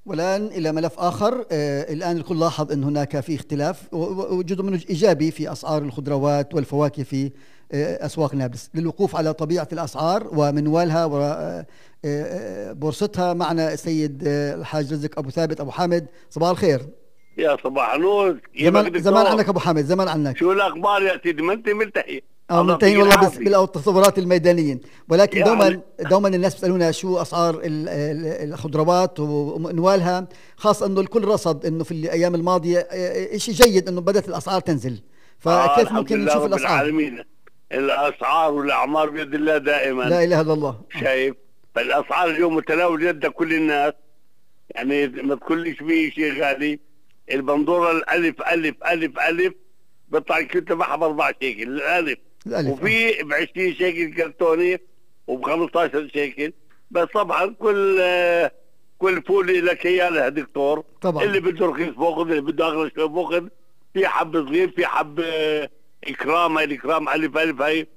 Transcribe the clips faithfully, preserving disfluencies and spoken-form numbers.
والآن إلى ملف آخر. آه الآن الكل لاحظ أن هناك في اختلاف وجزء منه إيجابي في أسعار الخضروات والفواكه في آه أسواق نابلس. للوقوف على طبيعة الأسعار ومنوالها وبورصتها معنا السيد آه الحاج رزق أبو ثابت أبو حامد. صباح الخير. يا صباح النور. زمان, زمان عنك أبو حامد، زمان عنك. شو الأخبار يا سيدي؟ ما أنت ملتحي. اه منتهين والله بالتصورات الميدانيين، ولكن دوما دوما الناس بيسالونا شو اسعار الخضروات ومنوالها، خاصه انه الكل رصد انه في الايام الماضيه شيء جيد انه بدات الاسعار تنزل، فكيف آه ممكن نشوف الاسعار؟ العالمين. الاسعار والاعمار بيد الله دائما، لا اله الا الله. شايف فالاسعار اليوم متناول يد كل الناس، يعني ما تقوليش فيه شيء غالي. البندوره الالف الف الف الف بيطلع كنت تبعها ب أربعة شيكل الالف، وفي ب عشرين شيكل كرتوني وب خمسطعش شيكل. بس طبعا كل آه كل فول لك اياه دكتور طبعا. اللي بده رخيص باخذ، اللي بده اغلى شوي باخذ. في حب صغير، في حب آه اكرام. هاي الاكرام الف الف هاي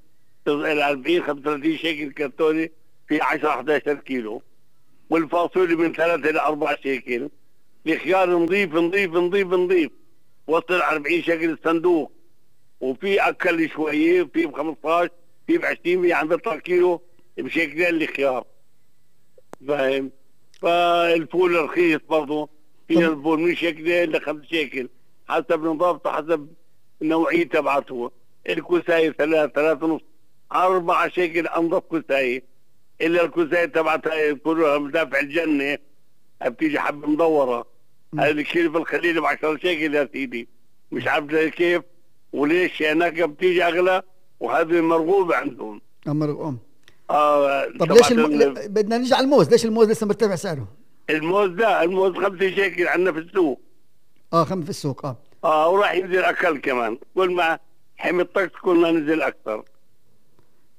ال أربعين خمسة وثلاثين شيكل كرتوني، في عشرة إحدى عشر كيلو. والفاصولي من ثلاثة الى أربعة شيكل. الخيار نظيف نظيف نظيف نظيف وصل أربعين شيكل الصندوق. وفي اكل شويه، في ب خمسطعش، في ب عشرين، في عم بيطلع كيلو بشيكلين الخيار، فاهم؟ فالفول رخيص برضه، في الفول من شيكلين لخمس شيكل حسب نظافته، حسب النوعيه تبعته. الكوسايه ثلاث ثلاث ونص أربعة شيكل انظف كوسايه، الا الكوسايه تبعتها كلها مدافع الجنه بتيجي حبه مدوره. هذا الكيلو في الخليل ب عشرة شيكل يا سيدي، مش عارف كيف وليش هناك بتيجي اغلى، وهذه مرغوبه عندهم. مرغوب. اه طب ليش الم... بدنا نرجع على الموز، ليش الموز لسه مرتفع سعره؟ الموز لا، الموز خمسة شيكل عندنا في السوق. اه خمسة في السوق. اه اه وراح ينزل اقل كمان، كل ما حمي الطقس كل ما نزل اكثر.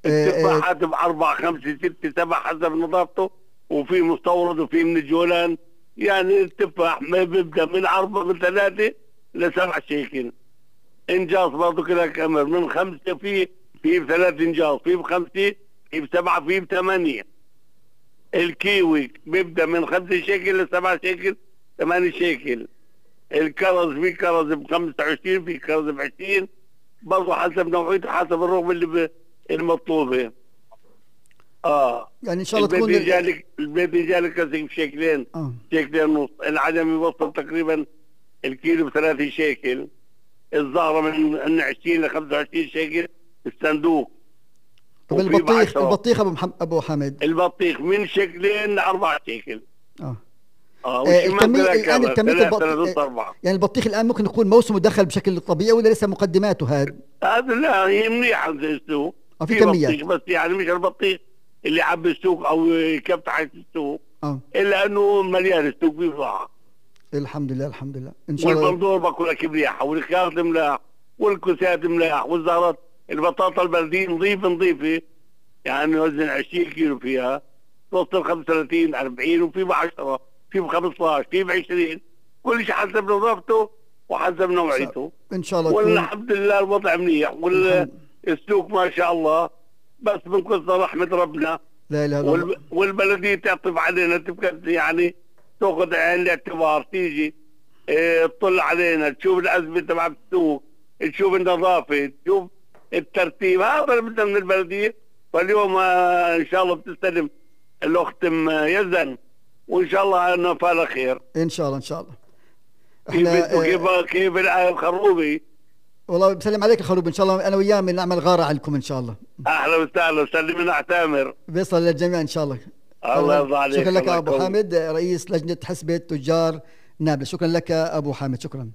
التفاحات ب أربعة خمسة ستة سبعة حسب نظافته، وفي مستورد وفي من الجولان. يعني التفاح ما بيبدا من أربعة من ثلاثة لسبعة شيكل. انجاص برضه كذا كمر من خمسة، في في بثلاث انجاص، في بخمسة، في بسبعة، في بثمانية. الكيوي بيبدا من خمسة شيكل لسبعة شيكل ثمانية شيكل. الكرز في كرز ب خمسة وعشرين، في كرز ب عشرين، برضه حسب نوعيته، حسب الرغبه اللي المطلوبه. اه يعني ان شاء الله تكون البيت البيت جالك كاسك بشيكلين، آه. شيكلين ونص. العدم يوصل تقريبا الكيلو بثلاثة شيكل. الزهرة من عشرين ل خمسة وعشرين شيكل الصندوق. طب البطيخ البطيخ ابو محمد ابو حامد البطيخ من شيكلين ل أربعة شيكل. اه اه الكمية الان الكمية البطيخ يعني البطيخ الان ممكن يكون موسمه دخل بشكل طبيعي ولا لسه مقدماته هذا؟ هذا لا، هي منيحة زي السوق. اه في كميات، بس يعني مش البطيخ اللي عب السوق او يكب تحت السوق، اه الا انه مليان السوق بضاعة. الحمد لله الحمد لله ان شاء الله. والبندور باكل لك مليحه، والخيار ملاح، والكوسات ملاح، والزهرات. البطاطا البلديه نظيفه نظيفه، يعني وزن عشرين كيلو فيها، توصل خمسة وثلاثين أربعين، وفي ب عشرة، في ب خمسطعش، في ب عشرين، كل شيء حسب نظافته وحسب نوعيته ان شاء الله. والحمد لله الوضع منيح، والسوق ما شاء الله. بس من كثر رحمه ربنا لا اله الا الله، والبلديه تعطف علينا، تبقى يعني تاخذ عين الاعتبار، تيجي اه تطل علينا، تشوف الازمه تبع السوق، تشوف النظافه، تشوف الترتيب. هذا اللي بدنا من البلديه. فاليوم اه ان شاء الله بتستلم الاخت ام يزن، وان شاء الله انه فعل خير ان شاء الله ان شاء الله. احنا كيف اه كيف الخروبي. والله بسلم عليك الخروب، ان شاء الله انا وياه بنعمل غاره عندكم ان شاء الله. اهلا وسهلا، سلم لنا تامر. بيصل للجميع ان شاء الله. الله يرضى عليك. شكرا لك ابو حامد، رئيس لجنه حسبه تجار نابلس. شكرا لك ابو حامد، شكرا.